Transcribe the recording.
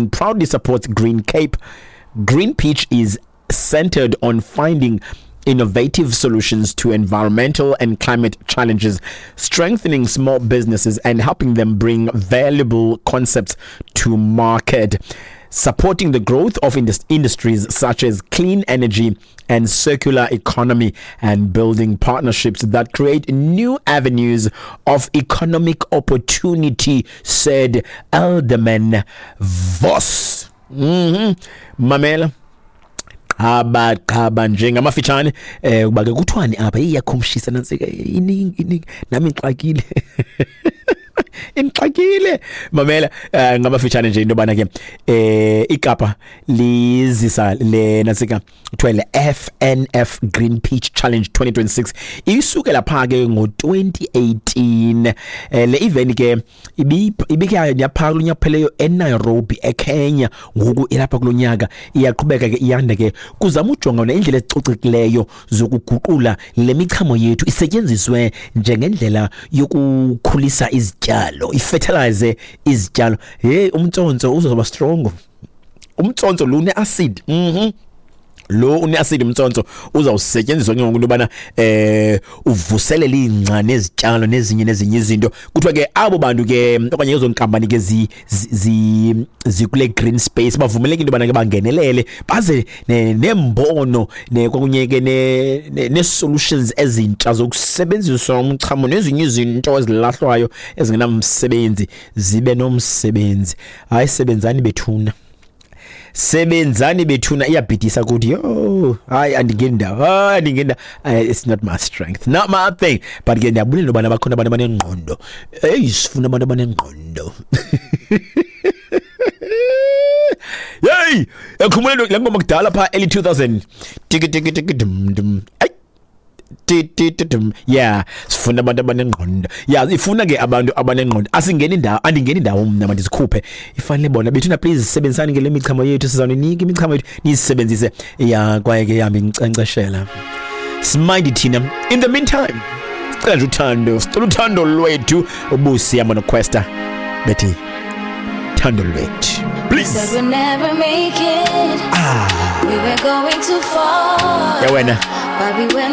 Proudly supports Green Cape. Green Peach is centered on finding innovative solutions to environmental and climate challenges, strengthening small businesses and helping them bring valuable concepts to market. Supporting the growth of industries such as clean energy and circular economy, and building partnerships that create new avenues of economic opportunity, said Alderman Voss. Mamela, qhaba qhaba nje ngamafitshane kuba ke kuthiwani apha? Iyakhumshisa nantsika, iningi iningi, nami ngixakile, indixakile. Mamela, ngamafitshane nje into yobana ke iKapa lizisa le nantsika kuthiwa le FNF Green Peach Challenge 2026, isukela pha ke ngo-2018. Le event ke ibike yapha kulo nyaka pheleyo eNairobi, eKenya. Ngoku ilapha kulo nyaka, iyaqhubeka ke, iyanda ke, kuzama ujonga nendlela ezicocekileyo zokuguqula le michamo yethu isetyenziswe njengendlela yokukhulisa izityalo, ifertilize izityalo. Hey, umtsontso uzoba strong, umtsontso lo une-acid. Lo une-acid umtsontso uzawusetyenziswa ke ngoku into yobana uvuselele ingca nezityalo nezinye nezinye izinto. Kuthiwa ke abo bantu ke okanye ezo nkampani ke zikule green space bavumeleke into yobana ke bangenelele, baze nembono kwakunye ke nee-solutions ezintsha zokusebenzisa umchamo nezinye izinto ezilahlwayo ezingenamsebenzi zibe nomsebenzi. Hayi, sebenzani bethuna, sebenzani bethuna, iyabhidisa kuthi. Yo, hayi, andingeni ndawo, hayi, andingeni ndawo. It's not my strength, not my thing, but ke ndiyabulela ubana bakhona abantu abanengqondo. Eyi, sifuna abantu abanengqondo. Yeyi, ekhumbule le ngoma kudala phaa early 2000, tiki tiki tiki dum dum, ayi, ti ti ti dum. Yeah, sifuna abantu abanengqondo. Yeah, ifuna ke abantu abanengqondo. Asingeni indawo, andingeni indawo mna, mandizikhuphe, ifanele bona bethuna. Please, sebenzisani ke le michamo yethu, sizawuninika imichamo yethu niyisebenzise. Ya, kwaye ke yambi inkcenkceshela simindi thina. In the meantime, sicela nje uthando, sicela uthando lwethu. Ubusi yama noQuesta bethi "Thando Lwethu", please. Said we'll never make it. Ah. We were going too far. Ya wena. But we went